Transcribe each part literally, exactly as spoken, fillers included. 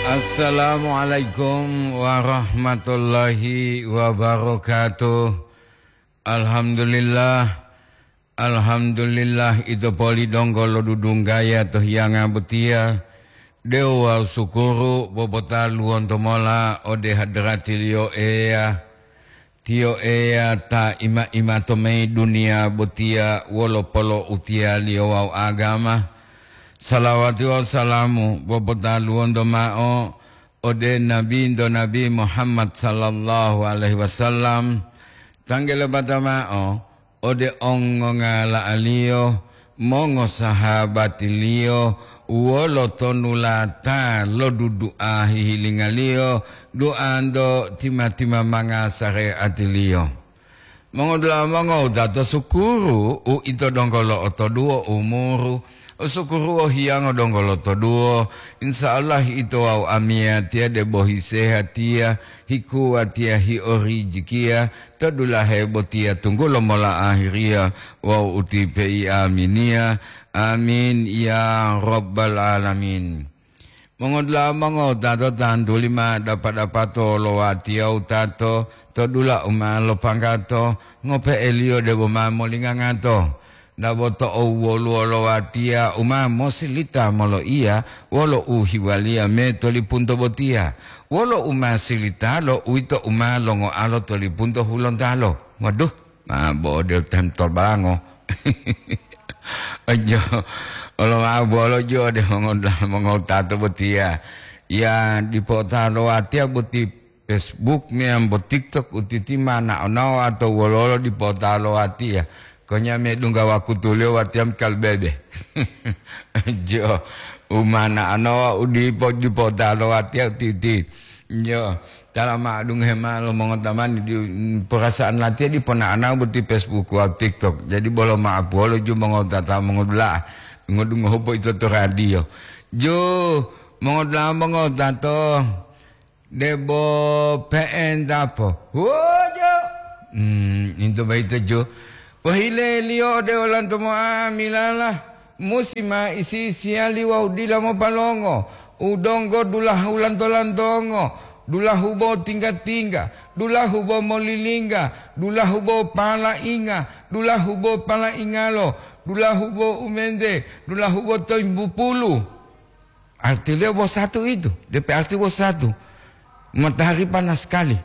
Assalamualaikum warahmatullahi wabarakatuh. Alhamdulillah. Alhamdulillah, ito poli donggo lodudunggaya to hiyanga botiya. De'u wawu sukuru popotaluwonto mola ode hadratiliyo Eya. Tiyo Eya ta ima-ima to mayi duniya botiya wolo polo'utiyaliyo wawu agama. Salawati wawu salamu popotaluwonto ma'o ode Nabinto Nabi Muhammad sallallahu alaihi wasallam, tanggele bata ma'o ode ongongala'aliyo, mongosahabatiliyo, wolo tonulata lodudu'a hihilingaliyo, duanto tima-timamanga sare'atiliyo. Mongodula'a mongowutato, sukuru uito donggo lo'otoduwo umuru, sukuru wohiyango donggo lotoduwo. Insya Allah ito wawu amiyatiya debo hisehatiya, hikuwatiya, hiorijikiya to dulahe botiya tunggulo mola ahiriya wawu utipe'i aminiya. Amin ya rabbal alamin. Mongodula'a mongowutato, tantuli ma dapa-dapato lo watiya wutato to dula u ma lopanggato, ngope'eliyo debo ma molingangato. Dabo to'u woluwo lo watiya u ma mosilita moloiya wolo uhiwaliya me to lipunto botiya. Wolo u ma silitalo, uwito u ma longoalo to lipunto hulontalo. Waduh, ma bo'o deu tentol balango. Ojo, olo ma'o bolo jo de mongo-, mongowutato botiya. Ya, dipo ta lo watiya boti Facebook meyambo TikTok utiti ma nao-nao atau wolo-wolo dipo ta lo watiya. Konya medungga wakutuliyo watiya kalbebe. Jo, u ma nao-nao u dipo, dipo ta lo watiya utiti. Jo. Tala ma'o dungohe ma'o lo mongotamani di, perasaan latiya dipo na'anao boti Facebook wawu TikTok. Jadi bolo ma'o puwolo ju mongotata mongodula'a, dungo-dungohu po ito to radio. Ju, mongodula'a mongotato, debo pe'entapo. Wojo! Hmm, into boyito ju. Pohileliyo ode olanto mo'amilala, musi ma isi-isiyali wawu dila mopalongo, u donggo dulahu lanto-lantongo, dulahu bo tingga-tingga, dulahu bo molilingga, dulahu bo palainga, dulahu bo palaingalo, dulahu bo umente, dulahu bo toimbupulu. Artiliyo bo satu itu, D P arti bo satu. Matahari panas sekali.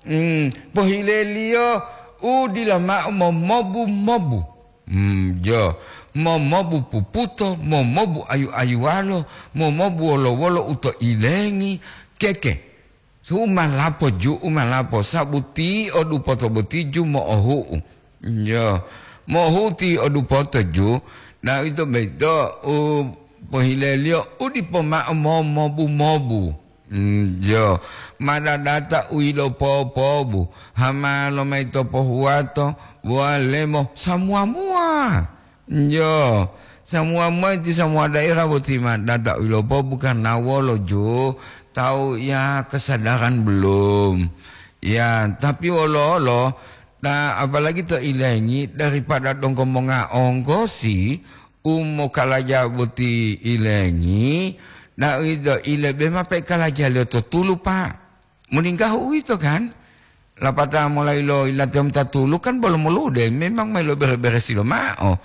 Hmm, pohileliyo u dila ma'o momobu-mobu. Hmm, jo. Momobu puputo, momobu ayu-ayuwalo, momobu wolo-wolo u to ilengi, keke. Su malapo ju, u malapo, sabuti o dupoto boti ju mo'ohu'u. Jo. Mo'ohu'u ti o dupoto ju, na ito boyito u pohileliyo u dipo ma'o momobu-mobu. Mm, jo, madadata u yilopopobu, hamalo mayi to pohuwato, walemo, samuwa-muwa. Jo, samuwa-muwa iti samuwa daerah boti madadata u yilopopobu karna wolo jo, tawu ya kesadaran belum. Ya, tapi wolo-wolo, ta, apalagi to ilengi daripada donggo monga onggosi, u mokalaja boti ilengi, na uwito ilebe mao pe'e kalajaliyo to tulu, Pak. Molinggahu uwito, kan? Lapatao molayi lo yilate mota tulu, kan bolo molude, memang ma ilobere-beresi lomao.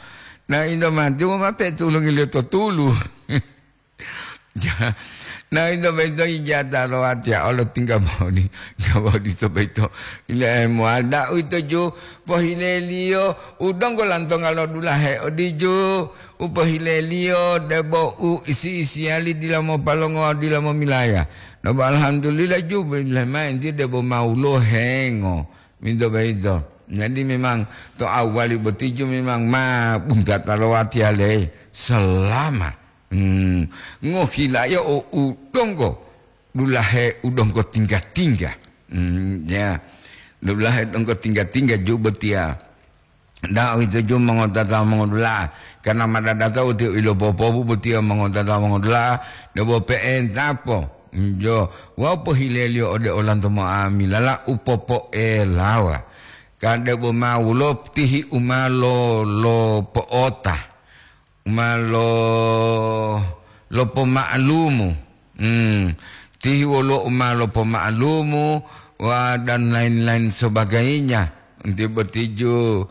Na ito mati, woma pe'e tulungiliyo to tulu. Ja-, na ito boyito ijata lo watiya olo tingga boni, tingga boni to boyito. Ile mowali, na uwito ju pohileliyo u donggo lantonga lo dulahe odiju, u pohileliyo debo u isi-isiyali dila mopalongo, dila momilaya. Debo alhamdulillah ju, bilahi mao entiye debo ma woluwo hengo, minto boyito. Jadi memang to awali boti ju memang ma buntata lo watiya le selama Hmm, ngohilayao u donggo dulahe u donggo tingga-tingga. Hmm, ya. Dulahe donggo tingga-tingga ju botiya. Da'u ito ju mongotata mongodula'a, karna madadata u tiyo ilopopobu botiya mongotata mongodula'a, debo pe'entapo. Hmm, jo, wawu pohileliyo ode olanto mo'amilala u popo'elawa. Ka debo ma woluwo tihi u ma lo-, lopo'ota. Ma lo-, lopoma'alumu. Hmm. tihi woluwo u ma lopoma'alumu, wa, dan lain-lain sebagainya. Nti botiju